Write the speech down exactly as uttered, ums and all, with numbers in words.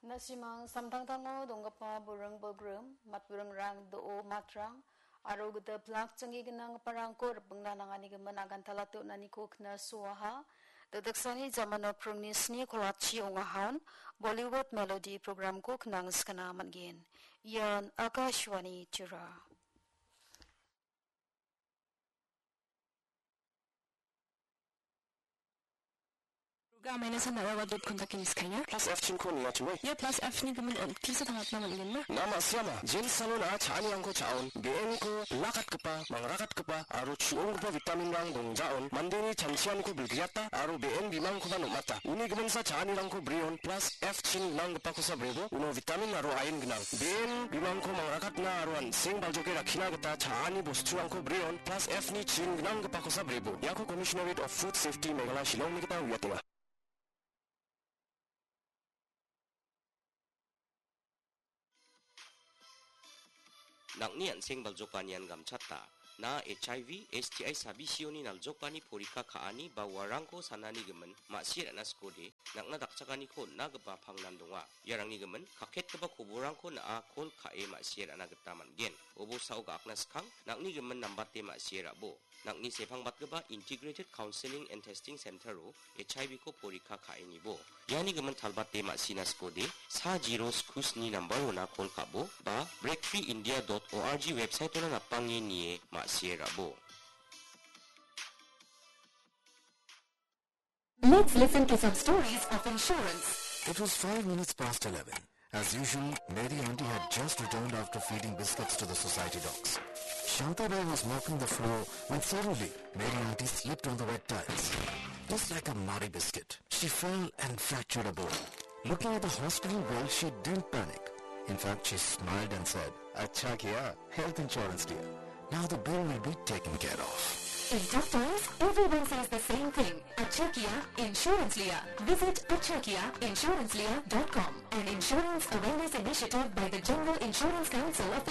Nasimang samtangtango donggipa buring bolgrim, matburingrang do·o matrang, aro gita plak janggi gnanggiparangko ripengna nanganigimin agantala knasuaha. Dikdaksani jamano pringni sni kolachi ong·ahan, Bollywood Melody programko knangskana man·gen. Ian Akashvani Tirupur. Ruga maina san nara wadut kontak ini skanya. Plus F chin ko nia chumai. Ia plus F ni gimin on, kisa tangatna man·gen ma? Nama siama, jin salon a cha·anirangko cha·on, B N ko lakatgipa, mangrakatgipa, aro chu·onggipa vitamin rang dongjaon, mandeni chanchianiko bilgriata, aro B N bimangkoba nom·ata. Uni giminsa cha·anirangko brion, plus F chin gnanggipakosa brebo, uno vitamin aro ain gnang. B N bimangko mangrakatna aro an·seng baljoke rakkina gita cha·ani bosturangko brion, plus F ni chin gnanggipakosa brebo. Iako Commissionerate of Food Safety Meghalaya Shillongni gita uiatenga. Nang·ni an·seng baljokanian gamchata. Na H I V, S T I sabisioni naljokani porikka ka·ani ba uarangko sanani gimin ma·sie ra·na skode, nang·na dakchakaniko on·na gipa pangnan donga. Iarangni gimin kaketgipa koborangko na·a kol ka·e ma·sie ra·na gita man·gen. Obosao ga·akna skang, nang·ni gimin nambate ma·sie ra·bo. Nang·ni sepangbatgipa Integrated Counseling and Testing Center-o H I V ko porikka ka·enibo. Iani gimin talbate ma·sina skode, sa zero sku sni nambar-ona kol ka·bo, ba breakfreeindia dot org website-ona napange nie ma·sie ra·bo. Let's listen to some stories of insurance. It was five minutes past eleven. As usual, Mary Auntie had just returned after feeding biscuits to the society dogs. Shanta Bai was mopping the floor when suddenly Mary Auntie slipped on the wet tiles. Just like a muddy biscuit, she fell and fractured a bone. Looking at the hospital bill, she didn't panic. In fact, she smiled and said, "Acha kiya, health insurance liya. Now the bill will be taken care of." In tough times, everyone says the same thing. Acha kiya, insurance liya. Visit acha kiya insurance liya dot com, an insurance awareness initiative by the General Insurance Council of